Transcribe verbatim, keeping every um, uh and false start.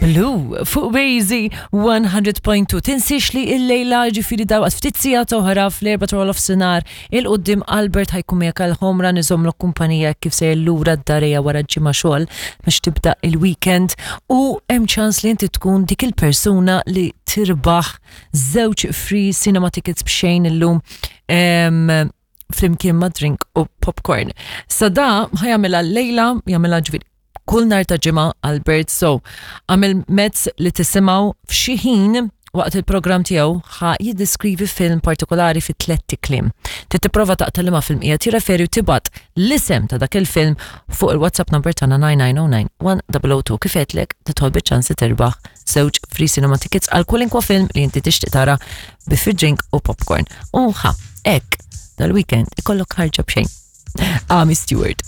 Blue fuq Wazy one hundred point two. Tinsiex li il-lejla, ġifieri dalwaqt, ftit sigħat oħra, fl-erbgħa ta' nofsinhar 'il quddiem, Albert ħa jkun miegħek għal-ħomra niżomlok kumpanija kif sejjer lura d-dar wara ġimgħa xogħol biex tibda il-weekend, u hemm ċans li inti tkun dik il-persuna li tirbaħ żewġ free cinema tickets b'xejn illum em, flimkien ma' drink u popcorn. Sa da ħa jagħmilha lejla, jagħmilha ġifieri kull nhar ta' Ġimgħa Albert, so għamil mezz li tisimgħu f'xi ħin waqt il-programm tiegħu ħa jiddiskrivi film partikolari fi tlett kliem. Trid tipprova taqta' liema film qiegħed jirreferi u tibgħat l-isem ta' dak il-film fuq il-WhatsApp number tagħna nine nine zero nine one zero zero two. Kif għedtlek, tidħol biċ-ċans li terbaħ żewġ free cinema tickets għal kwalunkwe film li inti tixtieq tara bi free drink u popcorn. U ħa, hekk dal-weekend ikollok ħarġa b'xejn. Amii Stewart.